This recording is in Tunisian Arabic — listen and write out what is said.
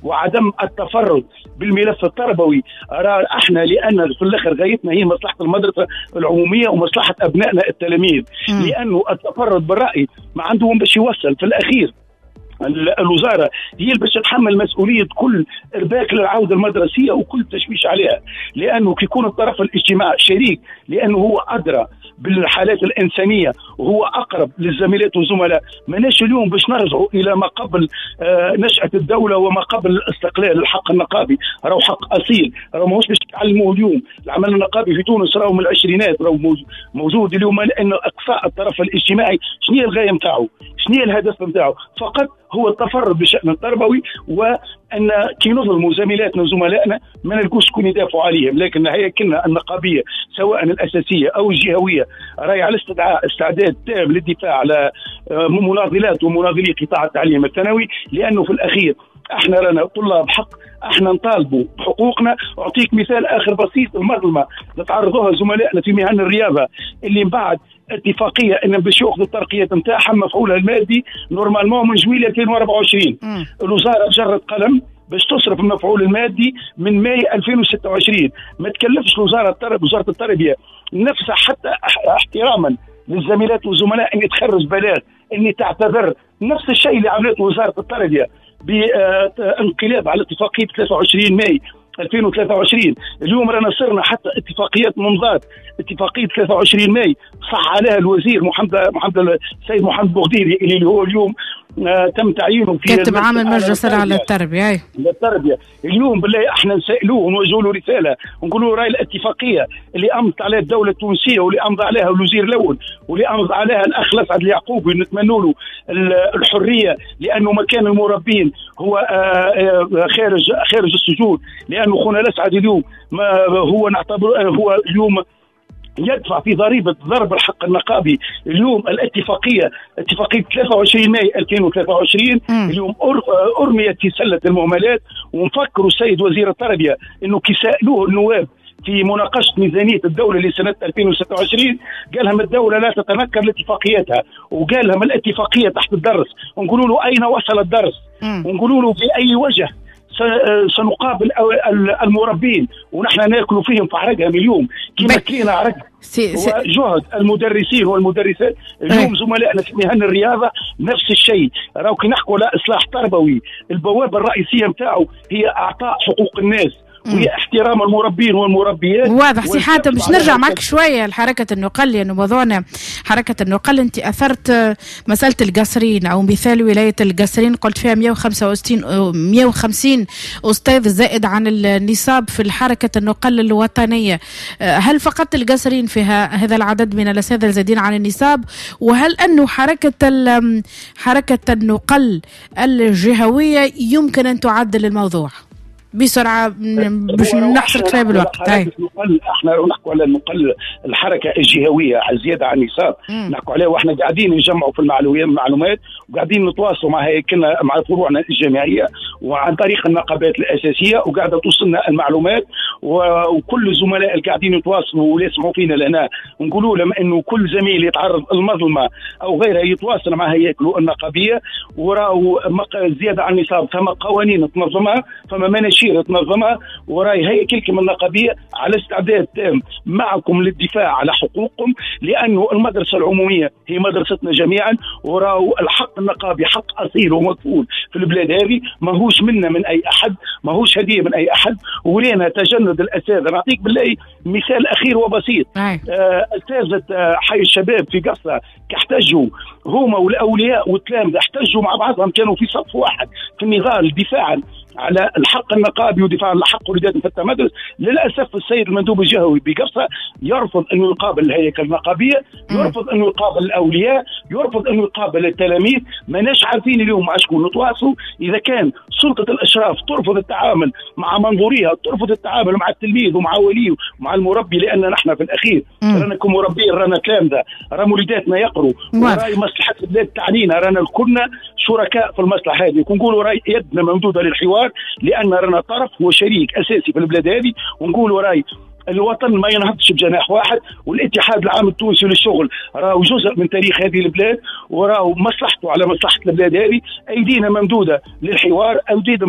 وعدم التفرد بالملف التربوي. احنا لان في الاخر غايتنا هي مصلحة المدرسة العمومية ومصلحه ابنائنا التلاميذ، لانه التفرد بالراي ما عندهم باش يوصل. في الاخير الوزارة هي اللي باش تتحمل مسؤولية كل ارباك للعودة المدرسية وكل تشويش عليها، لانه كي يكون الطرف الاجتماعي شريك، لانه هو ادرى بالحالات الانسانية وهو اقرب للزميلات والزملاء. ماناش اليوم باش نرجعوا الى ما قبل نشاة الدولة وما قبل الاستقلال. الحق النقابي راهو حق اصيل، راهو ماهوش باش تعلموه اليوم. العمل النقابي في تونس راهو من العشرينات راهو موجود اليوم، لان اقصاء الطرف الاجتماعي شنو هي الغاية نتاعو؟ شنو هي الهدف نتاعو؟ فقط هو التفرد بالشأن التربوي، وأن كي نظلموا زميلاتنا وزملائنا ما نلقوش شكون يدافعوا عليهم. لكن هياكلنا النقابية سواء الأساسية أو الجهوية راهي على استعداد تام للدفاع على مناضلات ومناضلي قطاع التعليم الثانوي، لأنه في الأخير احنا رانا طلاب حق، احنا نطالبوا بحقوقنا. اعطيك مثال اخر بسيط، المظلمة نتعرضوها زملائنا في مهن الرياضة اللي من بعد اتفاقية ان باش ياخذوا الترقيات نتاعهم مفعولها المادي normalement من جويلية 2024. الوزارة جرت قلم باش تصرف المفعول المادي من ماي 2026. ما تكلفش وزارة التربية نفسها حتى احتراما للزميلات والزملاء ان تخرج بلاغ، ان تعتذر. نفس الشيء اللي عملته وزارة التربية بانقلاب على اتفاقية 23 ماي 2023. اليوم رانا صرنا حتى اتفاقيات ممضات، اتفاقية 23 ماي صح عليها الوزير محمد السيد محمد بوغديري اللي هو اليوم تم تعيينه في كاتب عام المجلس على التربية. التربية اليوم بالله احنا نسالوه ونوجهوا له رسالة ونقولوا راي الاتفاقية اللي امضت عليها الدولة التونسية واللي امضى عليها الوزير الاول واللي امضى عليها الاخ لسعد اليعقوبي، نتمنوا له الحرية لانه مكان المربين هو خارج السجون، لانه خونا لسعد اليوم ما هو نعتبر هو اليوم يدفع في ضريبة ضرب الحق النقابي. اليوم الاتفاقية اتفاقية 23 ماي 2023 اليوم أرميت في سلة المهملات. ونفكروا السيد وزير التربية انه كي سألوه النواب في مناقشة ميزانية الدولة لسنة 2026 قال لهم الدولة لا تتنكر لاتفاقياتها، وقال لهم الاتفاقية تحت الدرس. ونقولوا له أين وصل الدرس؟ ونقولوا له بأي وجه سنقابل المربين ونحن ناكل فيهم في عرقهم اليوم كما كلينا عرق وجهد المدرسين والمدرسات. اليوم زملائنا في مهن الرياضة نفس الشيء. راهو كي نحكوا على إصلاح تربوي البوابة الرئيسية نتاعو هي أعطاء حقوق الناس وهي احترام المربين والمربيات. واضح سي حاتم، باش نرجع معك شوية لحركة النقل، لانه موضوعنا حركة النقل. انت اثرت مسالة القصرين او مثال ولاية القصرين، قلت فيها 165 استاذ زائد عن النصاب في الحركة النقل الوطنية. هل فقط القصرين فيها هذا العدد من الاساتذة الزائدين عن النصاب؟ وهل انه حركة النقل الجهوية يمكن ان تعدل الموضوع بسرعة باش نحصر شوية بالوقت؟ احنا نحكوا على النقل الحركة الجهوية على زيادة عن النصاب، نحكوا عليها واحنا قاعدين نجمعوا في المعلومات وقاعدين نتواصلوا مع هيكلنا مع فروعنا الجامعية وعن طريق النقابات الاساسية، وقاعدة توصلنا المعلومات. وكل الزملاء اللي قاعدين يتواصلوا ويسمعوا فينا لهنا نقولوا لهم انه كل زميل يتعرض المظلمة او غيرها يتواصل مع هياكله النقابيه، وراو زيادة عن النصاب فما قوانين تنظمها، فما مناشير تنظمها، وراي هياكلكم النقابيه على استعداد تام معكم للدفاع على حقوقكم، لانه المدرسة العمومية هي مدرستنا جميعا، وراو الحق النقابي حق اصيل ومكفول في البلاد هذه، ماهوش منا من اي احد، ماهوش هديه من اي احد. ورينا تجند الاساتذة. نعطيك بالله مثال اخير وبسيط. اساتذة حي الشباب في قصة احتجوا هما والاولياء والتلامذه، احتجوا مع بعضهم، كانوا في صف واحد في النضال دفاعا على الحق النقابي ودفاعا على حق وليداتنا في التمدرس. للاسف السيد المندوب الجهوي بقفصه يرفض انه يقابل الهيئة النقابيه، يرفض انه يقابل الاولياء، يرفض انه يقابل التلاميذ. ماناش عارفين اليوم مع شكون نتواصلوا. اذا كان سلطة الاشراف ترفض التعامل مع منظوريها، ترفض التعامل مع التلميذ ومع وليه ومع المربي، لان نحن في الاخير رانا كمربين، رانا تلامذه، رانا وليداتنا يقروا، وراي مصلحة البلاد تعنينا، رانا كلنا شركاء في المصلحة هذه. ونقولوا راي يدنا ممدوده للحوار، لان رانا طرف وشريك اساسي في البلاد هذه. ونقولوا راي الوطن ما ينهضش بجناح واحد، والاتحاد العام التونسي للشغل راهو جزء من تاريخ هذه البلاد، وراهو مصلحته على مصلحة البلاد هذه. ايدينا ممدوده للحوار، ايدينا